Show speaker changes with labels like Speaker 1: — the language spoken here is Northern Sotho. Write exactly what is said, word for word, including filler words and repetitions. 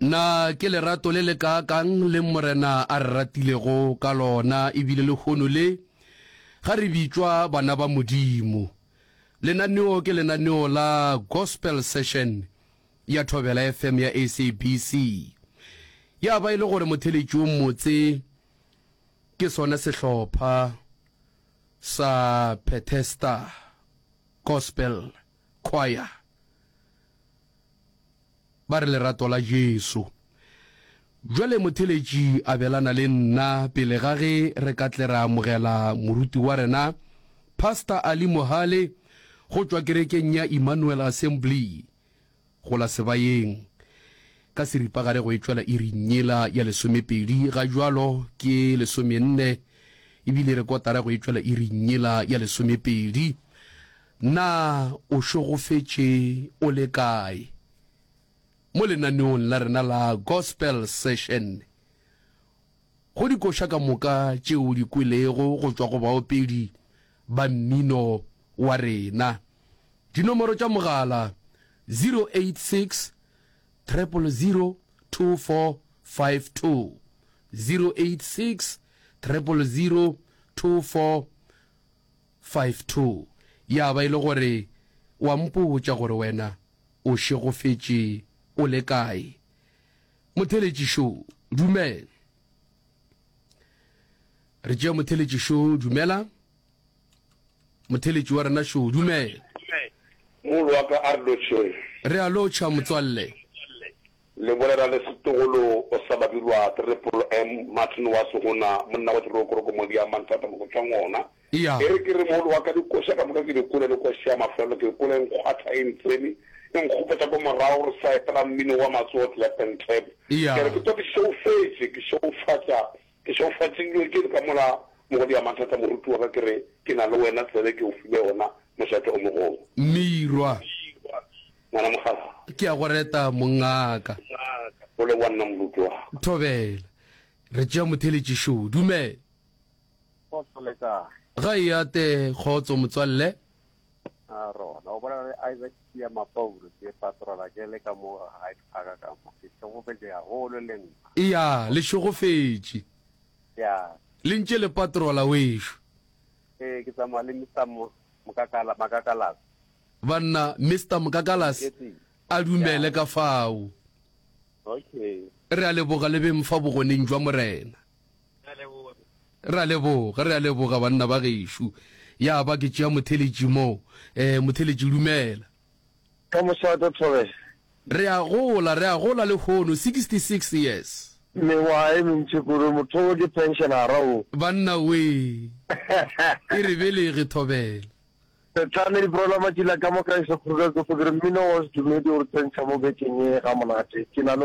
Speaker 1: Na ke lerato le le kaakang le Morena a re ratilego ka lona, ebile lehono le ga re bitšwa bana ba Modimo. Lenaneo ke lenaneo la Gospel Session ya Thobela F M ya S A B C. Ya ba e le gore motheletši o mmotse ke sona sehlopha sa Bethesda Gospel Choir. Ba re lerato la Jesu. Bjale motheletši abelana le nna pele ga ge re ka tle ra amogela moruti wa rena Pastor Ali Mohale go tšwa kerekeng ya Emmanuel Assembly go la Sebayeng ka seripagare go e tšwela iring yela ya lesomepedi ga jwalo ke lesomenne ebile re kotara go e tšwela iring yela ya lesomepedi. Na o šegofetše o le kae mo lenaneong la rena la Gospel Session? Go dikoša ka moka tšeo di kwelego go tšwa go baopedi ba mmino wa rena, dinomoro tša mogala zero eight six triple zero two four five two, zero eight six triple zero two four five two. Ya ba e le gore wa mpotša gore wena o šegofetše o le kae. Motheletšišo, dumela. Re tšea motheletšišo. Dumela, motheletši wa rena šo, dumela.
Speaker 2: Molo wa ka, a re lotšheng.
Speaker 1: Re a lotšha, motswalle.
Speaker 2: Le bolela le setogolo o sa Babirwa Triple M Martin wa Segona, monna wa dirokoroko modi ya manthata mokotšwa ngona.
Speaker 1: Ya.
Speaker 2: E re ke re, molo wa ka, dikoša ka moka ke di kole le koša ya mafelelo ke kole nkgwatha e ntsene e nkgopotša ko morago re sa epela mmino wa matsogo, clap and tap.
Speaker 1: Ya.
Speaker 2: Ke re ke to ke šeofetše, ke šeofatša, ke šeofatšilwe ke ka mola mogodi ya mathata. Moruti wa ka, ke re ke na le wena, tsebe ke o file yona, mošate o mogolo.
Speaker 1: Mirwa.
Speaker 2: Ngwana mogala.
Speaker 1: Ke a go reta, mongaka.
Speaker 2: O le wa nna, moruti wa ka.
Speaker 1: Thobela. Re tšea motheletšišo. Dumela.
Speaker 3: Kgotso, le kae?
Speaker 1: Ga e ate, kgotso, motswalle.
Speaker 3: A rona o bolela le Isaac Sia Mapaulo, ke patrola ke le ka mo Hyde Park ka mo. Ke šegofetše haholo le nna.
Speaker 1: Ya, le šegofetše.
Speaker 3: Ya.
Speaker 1: Le ntše le patrola wešo.
Speaker 3: Ee, ke tsamaya le Mister Mo Mokakala Makakalas.
Speaker 1: Banna, Mister Mokakalas a dumele ka fao.
Speaker 3: Okay.
Speaker 1: Re a leboga le beng fa bogoneng jwa Morena. Re a leboga, re a leboga, banna ba gešo. Ya ba ke tšea motheletši mo. um motheletši, dumela.
Speaker 4: Ka mošate, Thobela.
Speaker 1: Re a gola, re a gola le hono, sixty-six years.
Speaker 4: Mengwaga e mentši kudu, motho ke pensionara o.
Speaker 1: Banna we, e re belege, Thobela.
Speaker 4: Setlane diprola matšila ka moka e se kgruka ke fokere mmino wa sedumedi o re tsentšha mo bekeng ye ga monate ke na le wena.